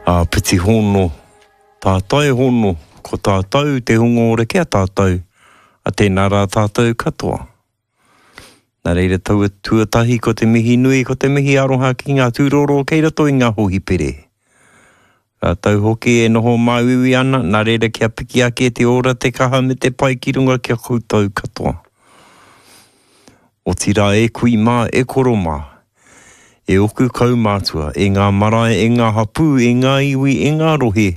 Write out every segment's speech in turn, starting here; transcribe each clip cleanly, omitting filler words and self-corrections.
Āpiti hono, tātai hono, ko tātou te hunga ora ki a tātou, a tēnā rā tātou katoa. Nā reira taua tuatahi ko te mihi nui, ko te mihi aroha ki ngā tūroro kei roto i ngā hōhipere. Rātou hoki e noho māuiui ana, nā reira kia piki ake te ora, te kaha me te pai ki runga ki a koutou katoa. Otirā e kui mā, e koro mā, e oku kaumātua, e ngā marae, e ngā hapū, e ngā iwi, e ngā rohe,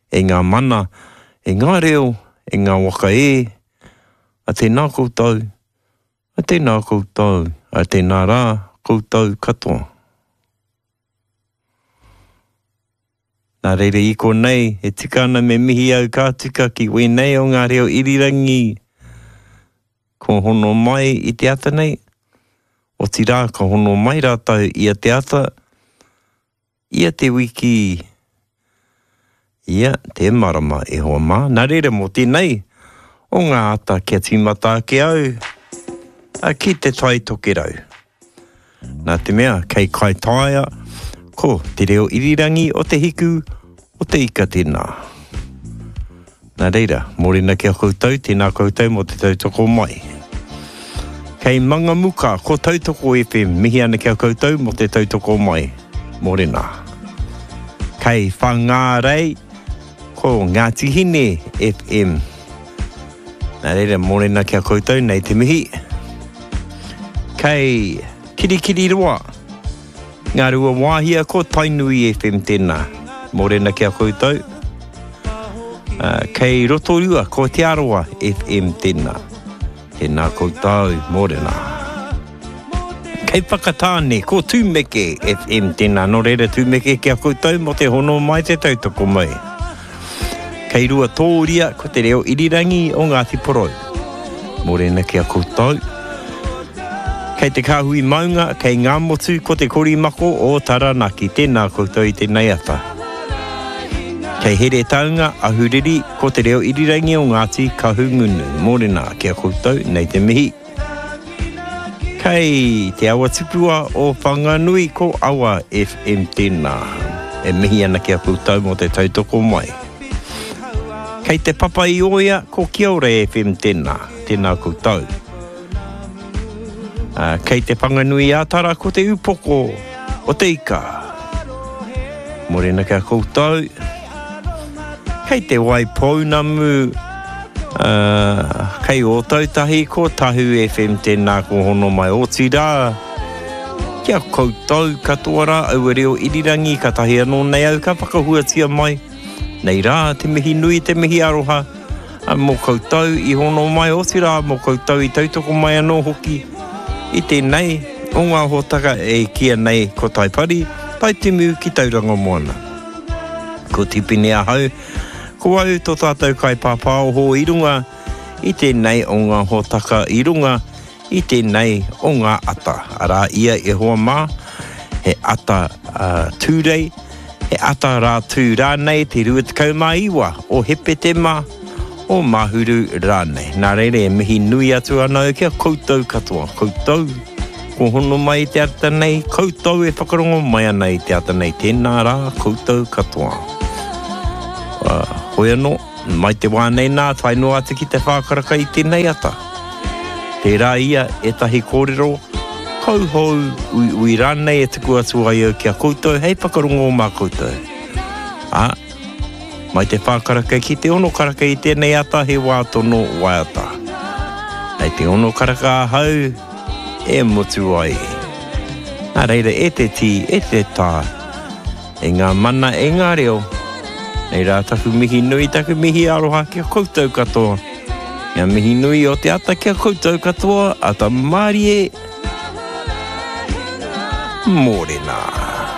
e ngā mana, e ngā reo, e ngā waka e, a tēnā koutou, a tēnā koutou, a tēnā rā koutou katoa. Nā reira i konei, e tika ana me mihi au ka tika ki wēnei o ngā reo irirangi kua hono mai i te ata nei, otirā ka hono mai rātou ia te ata, ia te wiki, ia te marama e hoa mā. Nā reira mō tēnei o ngā ata kia tīmata ake au ki Te Tai Tokerau. Nā te mea, kei Kaitaia, ko te reo irirangi o te hiku o te ika tēnā. Nā reira, mōrena ki a koutou, tēnā koutou mō te tautoko mai. Kei Mangamuka, ko Tautoko FM, mihi ana ki a koutou mō te tautoko mai. Mōrena. Kei Whangārei, ko Ngāti Hine FM. Nā reira, mōrena ki a koutou, nei te mihi. Kei Kirikiriroa, Ngāruawāhia, ko Tainui FM tēnā. Mōrena ki a koutou. Uh, kei Rotorua, ko Te Arawa FM tēnā. Tēnā koutou, mōrena. Kei Whakatāne, ko Tūmeke FM tēnā. Nō reira, Tūmeke ki a koutou mō te hono mai, te tautoko mai. Kei Ruatōria, ko te reo irirangi o Ngāti Porou. Mōrena ki a koutou. Kei te kāhui maunga, kei Ngāmotu, ko te korimako o Taranaki. Tēnā koutou i tēnei ata. Kei Heretaunga, Ahuriri, ko te reo irirangi o Ngāti Kahungunu. Mōrena ki a koutou, nei te mihi. Kei te awa tupua o Whanganui ko Awa FM tēnā. E mihi ana ki a koutou mō te tautoko mai. Kei te papa i Oia ko Kia Ora FM tēnā. Tēnā koutou. Kei te Whanganui a Tara ko te upoko o te ika. Morena ki a koutou. Kei te Waipounamu, kei Ōtautahi, ko Tahu FM tēnā ko hono mai. Otirā, ki a koutou katoa rā, aua reo irirangi, katahi anō nei au ka whakahuatia mai. Nei rā, te mihi nui, te mihi aroha, mō koutou i hono mai, otirā mō koutou i tautoko mai anō hoki i tēnei o ngā hōtaka e kīia nei ko Taipari, Taitimu ki Tauranga Moana. Ko Tipene ahau, ko au tō tātou kaipāpāoho i runga i tēnei o ngā hōtaka i runga i tēnei o ngā ata. Arā ia e hoa mā, he ata uh, Tūrei, he ata Rātū rānei te 29 o Hepetema o Mahuru rānei. Nā reira e mihi nui atu ana au ki a koutou katoa, koutou kua hono mai i te ata nei, koutou e whakarongo mai ana i te ata nei, tēnā rā koutou katoa. Uh, hoi anō, mai te wā nei nā, tae noa atu ki te whākaraka i tēnei ata. Tērā ia ētahi kōrero, kauhou, uiui rānei e tuku atu ai au ki a koutou hei whakarongo mā koutou. Ā, Mai te whā karaka ki te ono karaka i tēnei ata he wā tono waiata. Hei te ono karaka ahau e motu ai. Nā reira e te tī, e te tā, e ngā mana, e ngā reo, nei rā taku mihi nui, taku mihi aroha ki a koutou katoa. Ngā mihi nui o te ata ki a koutou katoa, ata mārie, mōrena.